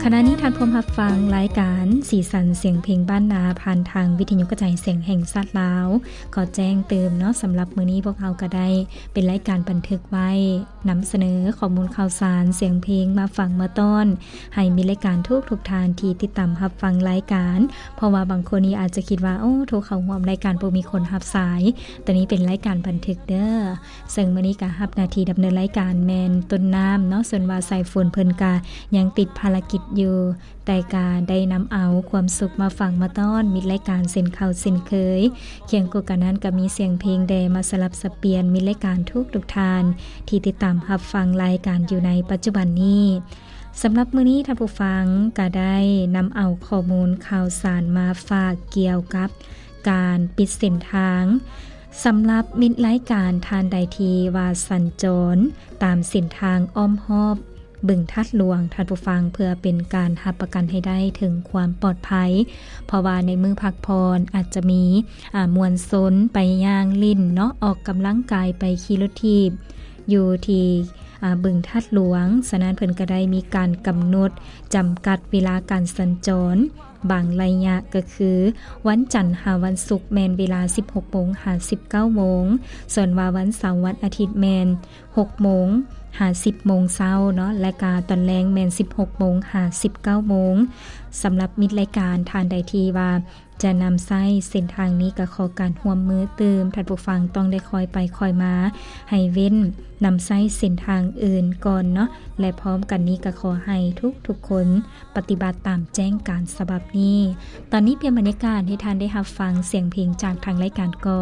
ຂະນະນີ້ທ່ານພວມຮັບຟັງລາຍການສີສັນສຽງເພງບ້ານນາ ຜ່ານທາງວິທະຍຸກະຈາຍສຽງແຫ່ງຊາດລາວ. ຂໍແຈ້ງຕື່ມເນາະ, ສຳລັບມື້ນີ້ພວກເຮົາກໍໄດ້ເປັນລາຍການບັນທຶກໄວ້ ນຳສະເໜີຂໍ້ມູນຂ່າວສານສຽງເພງມາຝາກມາຕ້ອນ ໃຫ້ມິດລາຍການທຸກໆທ່ານທີ່ຕິດຕາມຮັບຟັງລາຍການ. ເພາະວ່າບາງຄົນນີ້ອາດຈະຄິດວ່າ ໂອ້ ໂທເຂົ້າຮ່ວມລາຍການບໍ່ມີຄົນຮັບສາຍ, ໂຕນີ້ເປັນລາຍການບັນທຶກເດີ. ເຊິ່ງມື້ນີ້ກະຮັບໜ້າທີ່ດຳເນີນລາຍການແມ່ນຕົ້ນນ້ຳເນາະ, ສ່ວນວ່າສາຍຝົນເພິ່ນກະຍັງຕິດພາລະກິດຢູ່, ແຕ່ກະໄດ້ນຳເອົາຄວາມສຸກມາຝາກມາຕ້ອນມິດລາຍການເຊັ່ນເກົ່າເຊັ່ນເຄີຍ. ຄຽງຄູ່ກັນນັ້ນກະມີສຽງເພງແດ່ມາສະຫຼັບສະປ່ຽນມິດລາຍການທຸກໆທ່ານທີ່ຕິດຕາມຮັບຟັງລາຍການຢູ່ໃນປັດຈຸບັນນີ້. ສຳລັບມື້ນີ້ທ່ານຜູ້ຟັງກະໄດ້ນຳເອົາຂໍ້ມູນຂ່າວສານມາຝາກກ່ຽວກັບການປິດເສັ້ນທາງ. ສຳລັບມິດລາຍການທ່ານໃດທີ່ວ່າສັນຈອນຕາມເສັ້ນທາງອ້ອມຮອບ ບຶງທາດຫຼວງ ທ່ານຜູ້ຟັງ, ເພື່ອເປັນການຮັບປະກັນໃຫ້ໄດ້ເຖິງຄວາມປອດໄພ, ເພາະວ່າໃນມື້ພັກຜ່ອນອາດຈະມີ ອາ ມວນຊົນໄປຍ່າງຫຼິ້ນເນາະ, ອອກກຳລັງກາຍ, ໄປຂີ່ລົດຖີບຢູ່ທີ່ ອາ ບຶງທາດຫຼວງ. ສະນັ້ນເພິ່ນກໍໄດ້ມີການກຳນົດຈຳກັດເວລາການສັນຈອນບາງໄລຍະ, ກໍຄືວັນຈັນຫາວັນສຸກແມ່ນເວລາສິບຫົກໂມງຫາສິບເກົ້າໂມງ, ສ່ວນວ່າວັນເສົາວັນອາທິດແມ່ນ ຫົກໂມງຫາສິບໂມງເຊົ້າເນາະ, ແລະກະຕອນແລງແມ່ນສິບຫົກໂມງຫາສິບເກົ້າໂມງ. ສຳລັບມິດລາຍການທ່ານໃດທີ່ວ່າຈະນຳໃຊ້ເສັ້ນທາງນີ້ ກະຂໍການຮ່ວມມືຕື່ມ, ທ່ານຜູ້ຟັງຕ້ອງໄດ້ຄ່ອຍໄປຄ່ອຍມາ, ໃຫ້ເວັ້ນນຳໃຊ້ເສັ້ນທາງອື່ນກ່ອນເນາະ, ແລະພ້ອມກັນນີ້ກະຂໍໃຫ້ທຸກໆຄົນປະຕິບັດຕາມແຈ້ງການສະບັບນີ້. ຕອນນີ້ປ່ຽນບັນຍາກາດໃຫ້ທ່ານໄດ້ຮັບຟັງສຽງເພງຈາກທາງລາຍການກ່ອນ.